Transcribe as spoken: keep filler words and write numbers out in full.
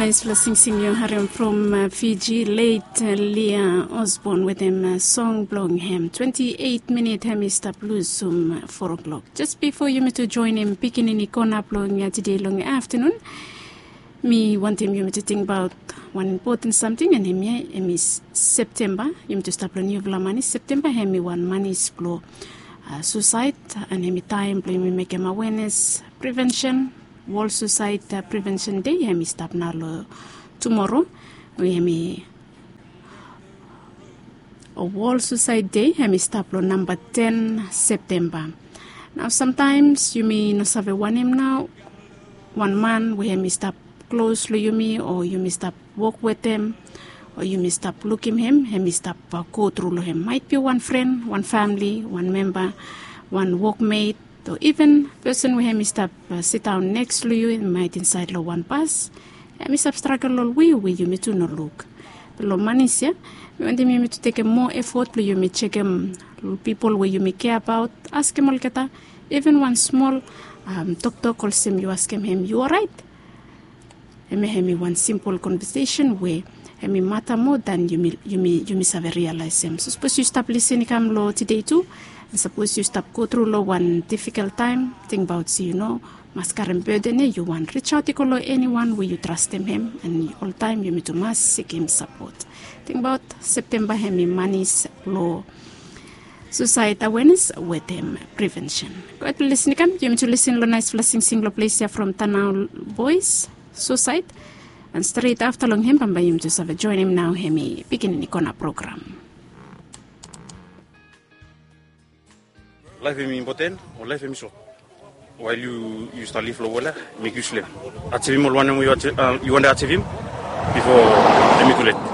Naispela singsing yu harim from Fiji, late Lia Osborne wetem song blong hem. Twenti eit minit hem i stap lusum four o'clock. Jes bifo yumi tu joinim pikinini kona blong tide long aftanun, mi wantem yumi tu tingbaot wan impoten samting, and hemia hem i Septemba. Yumi tu stap long niufala manis. Septemba hem i wan manis blong susaed, and hem i taem blong yumi mekem awenes, prevensen. Wol Susaed Prevensen Dei hem i stap nao long tumoro, we hem i Wol Susaed Dei hem i stap long namba ten Septemba. Nao samtaems yumi no save wanem nao wan man we hem i stap klos long yumi o yumi stap wok wetem o yumi stap lukim hem, hem i stap go tru long hem. Maet bi wan fren, wan famili, wan memba, wan wokmet, o iven pesen we hem i stap sindaon neks long yu, maet insaed long wan bas, hem i stap stragel long we we yumi tu no luk. Be long manis ya, mi wantem yumi tu tekem moa efot blong yumi jekem pipol we yumi kea abaot, askem olgeta iven wan smol toktok olsem yu askem hem, yu oraet? Hemia hem i wan simpol konvesesen we hem i mata moa dan yumi save rialaesem. So sapos yu stap lisin i kam long tide tu, and sapos yu stap go tru long wan difikol taem, tingbaot se yu no mas karem beden ya, yu wan risaot i go long eniwan we yu trastem hem, and oltaem yumi tu mas sikim sapot. Tingbaot Septemba hem i manis blong susaed awenes wetem prevensen. Go hed blong lisin i kam, yumi tu lisin long naispela singsing long ples ya from Tanau Bois, Susaed. And stret afta long hem bambae yumi tu save joinim nao hem i Pikinini Kona program. Laef hem i impoten o laef hem i sot. Wael yu yu stap liv long wol ya, mek yu slem. Ajivim ol wanem we yu wantem ajivim bifo hem i tulet.